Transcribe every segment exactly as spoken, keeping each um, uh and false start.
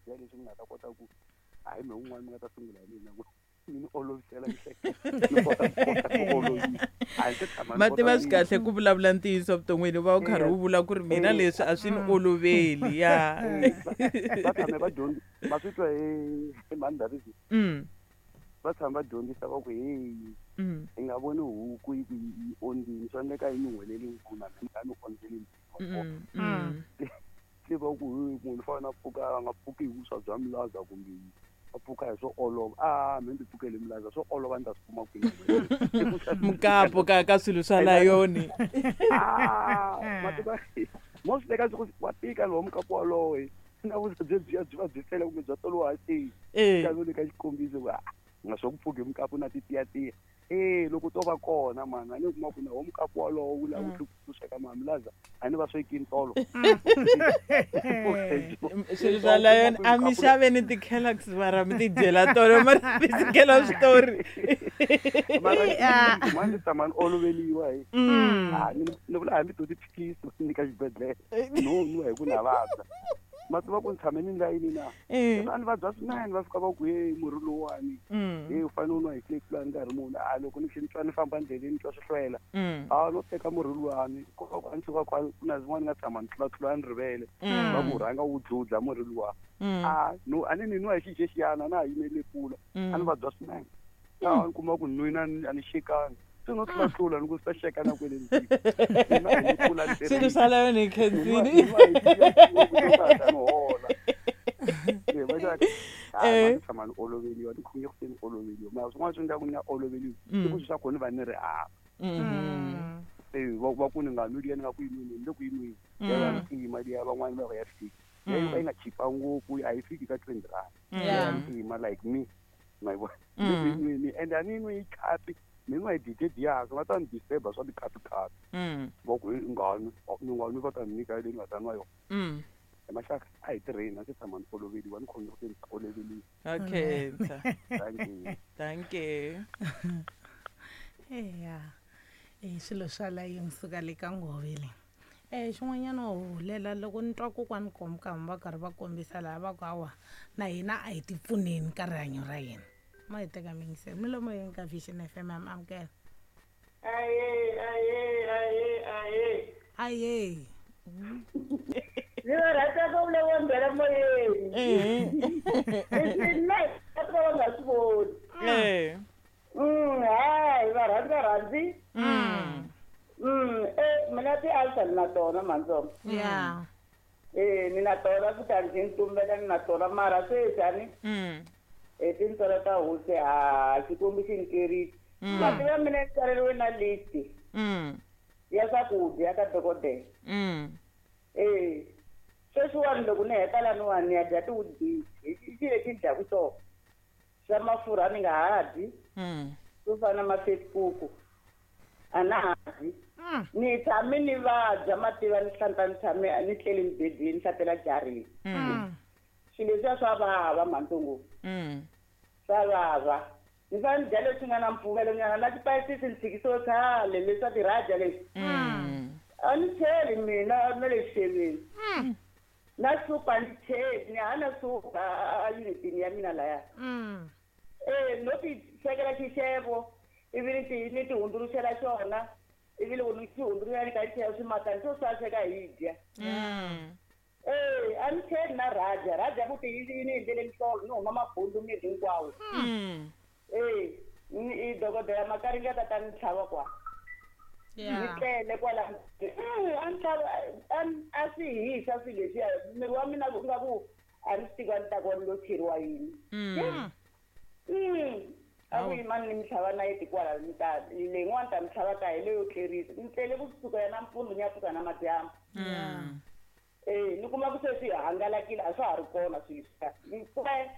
dya leswi mi nga ta kota ku hayi me un'wana mi nga ta sungula hi mina mi ni olovisela ni kota ku olovisa a ndzi tshama ma tiva swi kahle ku vulavula ntiyiso vuton'wini u va u karhi u vula ku ri mina leswi a swi ni oloveli ya va tshame va dyondzi va swi twa hi mhani Davisi va tshama va dyondzisa va ku heyi i nga voni huku yi ku yi ondzini swi endleka yi nyuhweleli nkuna mina a ni ondzeli se va ku munhu u fanele a pfuka a nga pfuki hi vuswa bya milaza kumbe a pfuka hi swo olova a me ndzi pfukele milaza swo olova ni ta swi kuma kwini mukapo ka ka swilo swa layoni mativa mo swi teka swi wa tika lowo mukapo walowo na vuswa byi byiya byi va byi tele kumbe bya tolowa hansi ka le ka xikombiso va nga swa ku pfuki mukapo na titiyatiya eh loko to va kona mani a ni kuma ku na wo mukapo walowo wu lava ku sweka mamilaza a ni va swekini tolo swilo swa layoni a mi xaveni ti-Kellogg's mara mi ti dyela tolo mara mi tshikela switori mara mani tshama ni oloveliwa hi ni vula hambi to tiphilisi va nyika xibedhlele no nwa hi ku na vabya ma tiva ku ni tshame ni layini na a ni vabya swinene va fika va ku hey murhi lowuwani hey u fanele u nwa hi tlekilani nkarhi muni a loko ni ni twa ni famba ndleleni ni twa swi hlwela a no teka murhi luwani a ni suka ku na zin'wana ni nga tshama ni tlulatlula ni rivele va ku rhanga wu dludla murhi luwa a no a ni ni nwa hi xixexiyana na ha yimele kula a ni vabya swinene a ni kuma ku nwina a ni xekanga se no tlulatlula ni ku swi ta xeka na kwele swilo swa layoni hi khensini hola tshama ni oloveliwa ni khonge ku se ni oloveliwa mara swin'wana swi endlaku ni nga oloveliwi i ku swi swa kona ni va ni ri hava e va ku ni nga nwi liya ni nga ku yi nwini ni le ku yi nwini ya ntima liya van'wani va ya fiki ya yi va yi nga chipa ngopfu a yi fiki ka twenty rand ya ntima like me ma yi vona ni ku yi nwini and a ni nwi yi khapi ni nwa hi dije diyaka va ta ni disturba swa tikhapi-khapi va ku nga nwi ni nga nwi va ta ni nyika leyi ni nga ta nwa yona hi maxaka a hi tirheni a ndzi tshama ni oloveliwa ni khome ku se ni oloveliwa okay thank you thank you eya i swilo swa layeni suka le ka ngove le eh xin'wanyana wo hulela loko ni twa kokwani komkama va karhi va kombisa laha va ku hawa na hina a hi ti pfuneni ka rihanyo ra hina ma hi teka mingiselo milomo yeni ka Vision F M am amukela aye aye aye aye aye ni va rhandza ku vulavula mbela moyeni leswi na va nga swi voni eh mm hayi va rhandza rhandzi mm mm eh mina ti-ulcer ni na tona mantsongo ya eh ni na tona kutani ndzi ni tumbela ni na tona mara sweswi a ni mm hi tintswalo ta hosi ha xikwembu xi ni kerile mativa mina ni tsaleriwe na list mm ya swakudya ka dokodela mm eh sweswiwani loko ni heta laniwani ni ya dya ti-Weet-Bix hi xi lexi ni dyaku swona swa mafurha ni nga ha dyi mm swo fana na ma-Facebook a na ha dyi ni tshame ni vabya mativa ni hlanta ni tshame ni tlele mibedweni ni hlatela jarini mm swilo leswiya swa vava mhantsongo mm swa vava ni fanele ni dya leswi nga na mpfumelo nyana na tipayisisi ni tshikisiwe khale leswa tiraja leswi mm a ni cheli mina na le xixeveni na supu a ni cheli ni hana supu a unitini ya mina laya eh no ti swekela xixevo ivi ni ti ni ti hundzuluxela xona ivi loko ni xi hundzuluxela ni ka chela swimatani swo swa sweka hi dya mm eh a ni cheli na raja raja futhi yi ni endlele nhlolo ni huma mabundu miri hinkwawo mm eh i dokodela Makaringa ta ta ni tlhava kwa ni tlele kwala a ni tlhava a swi hisa swilo leswiya miri wa mina ku nga ku a ni swi tivi a ni ta ku ni lo cheriwa yini mm mm a ku yimani ni mi tlhava nayiti kwala ni ta leyin'wani ta mi tlhava ka hi leyo tlerisa ni tlele kusuka ya nampundzu ni ya pfuka na madyambu mm eh ni kuma ku se swi hangalakile a swa ha ri kona swilo leswiya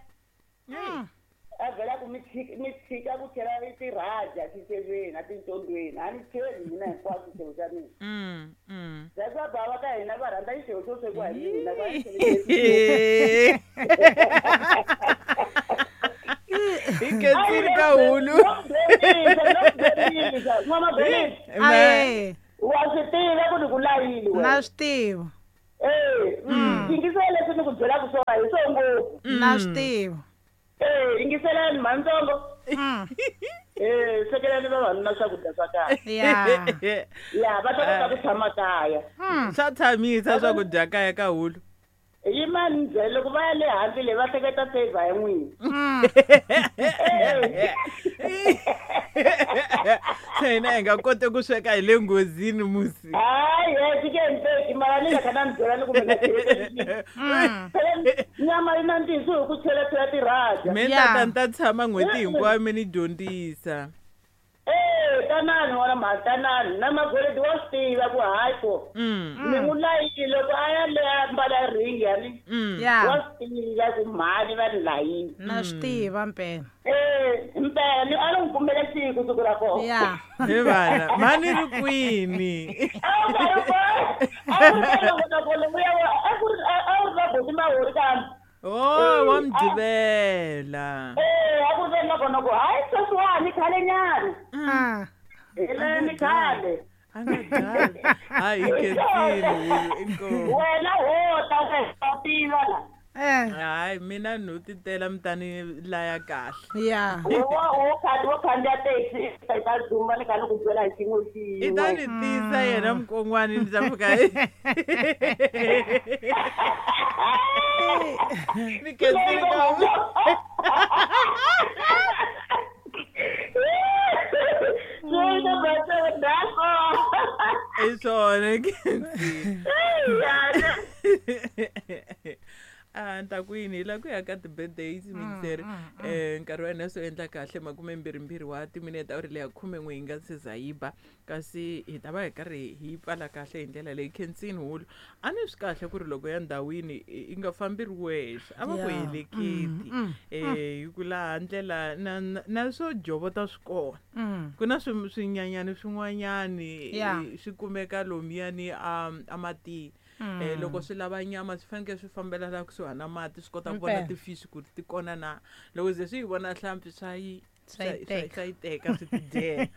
a vhela ku mi tshika mi tshika ku chela tiraja xixeveni a tintsondweni a ni cheli mina hinkwaswo xixevo xa mina mm mm that's why bava ka hina va rhandza xixevo xo swekiwa hi mina va hi khensile ka hulu n'wana Benny aye wa swi tiva ku ni ku layile na swi tiva eh yingisela leswi ni ku byelaka swona hi swo ngopfu Na swi tiva. Eh, yingiselani mhantsongo. Eh, swekelani vavanuna swakudya swa kahle. Ya. Ya, va ta kota ku tshama kaya. Swa tshamisa swakudya kaya ka hulu. Yimani byele loko va ya le handle le va hleketa favor ya n'wina. Se hina hi nga koti ku sweka hi le nghozini musi. Hayi, he swi ke endleki mara ni nga kha na mi byela ni ku mi nga cheleti. Phela nyama yi nandzihisa hi ku cheletela tirhaja. Me Ya. tata ni ta tshama n'hweti hinkwayo mi ni dyondzisa. Eh, tanani n'wana mhani tanani na magoledi wa swi tiva ku hayi ko. Ni n'wi layile loko a ya le a mbala ringi yani. Ya. Wa swi tiva ku mhani va ni layile. Na swi tiva mpela. Eh, mpela ni a ni n'wi kumele siku siku ra kona. Ya. He vana, mhani ri kwini? A wu nga ri kona. A wu ri kona kona vuya a ku ri a wu ri na buti Mahori kambe. Oh, wa Mugqivela. Eh, a ku ri na kona ku hayi sweswiwani khale nyana. Ah. Hi le ni khale. A nga dali. Hayi hi khensile hulu inkomu. Wena ho ta wena u tiva la. Eh. Hayi mina no titela mi ta ni laya kahle. Ya. Wo wo kha wo khandziya taxi i ta dzumba ni kha ni ku byela hi xin'we I ta xin'we. ni tisa yena mukon'wani ni ta fika ni khensile ka i swona ni khensile. A ni ta ku yini hi la ku ya ka ti-birthdays mixer um nkarhi wa hina swo endla kahle makumembirhimbirhi wa timinete awuri leya khumen'we hi nga se za yi ba kasi hi ta va hi karhi hi pfala kahle hi ndlela leyi khensini hulu a ni swi kahle ku ri loko ya ndhawini i nga fambi ri wexe a va ku Ya. heleketi um hi ku laha ndlela na na na swo jovota swi kona Mm. ku na swi swinyanyani swin'wanyani Ya. eh, swi kumeka lomuyani a a matini eh loko swi lava nyama swi fanekele swi fambela la kusuhani na mati swi kota ku vona Mpela. ti-fish ku ri ti kona na loko ze swi yi vona hlampfi swa yi Swa yi swa- swa teka. swa yi teka swi ti dyela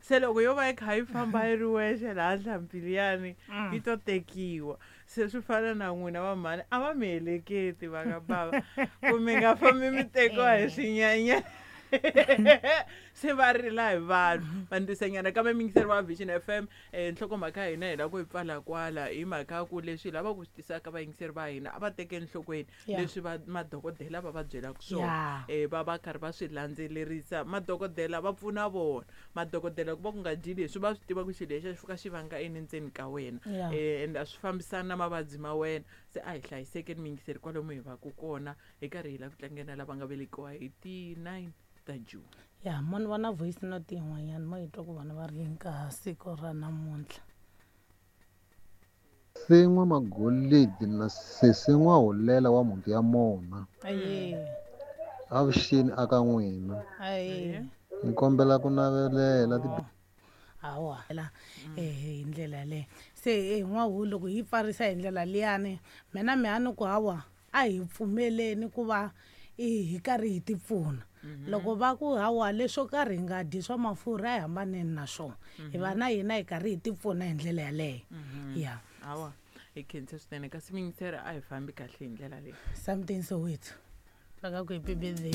se loko yo va yi kha yi famba yi ri wexe laha hlampfi liyani yi to tekiwa se swi fana na n'wina va mhani a va mi heleketi va ka bava ku mi nga fambi mi tekiwa hi swinyanyana se va rila hi vanhu va ndisanyana kambe miyingiseri wa Vision F M um nhlokomhaka ya hina hi lava ku yi pfala kwala hi mhaka ya ku leswi hi lavaka ku swi tisaka vayingiseri va hina a va teke enhlokweni Yeah. leswi va madokodela va va byelaka swona Yeah. um va va karhi va swi landzelerisa madokodela va pfuna vona madokodela ku va ku nga dyi leswi va swi tiva ku xilo lexi a xi fika xi vanga yini ndzeni ka wena Yeah. um and a swi fambisani na mavabyi ma wena se a hi hlayisekeni miyingiseri kwalomu hi va ku kona hi karhi hi lava ku tlangela lava nga velekiwa hi ti-nine ta June. Ya, mo ni vona voice note yin'wanyana mo yi twa ku vana va ri yini ka siku ra namuntlha. Sen'wa Magolidi na sesi N'wahulela wa mhunti ya mona. Aye. Avuxeni aka n'wina. Aye. Ni kombela ku navelela ti Hawa. Eh hi ndlela leyo. Se eh n'wahu loko hi pfarisa hi ndlela liyani mina mi a ni ku hawa a hi pfumeleni ku va i hi karhi hi ti pfuna. Loko va ku hawa leswo karhi hi nga dyi swa mafurha a hi hambaneni na swona. Hi va na hina hi karhi hi ti pfuna hi ndlela yaleyo. Ya. Hawa hi khensa swinene kasi miyingiseri a hi fambi kahle hi ndlela leyi. Something Soweto. Va ka ku happy birthday.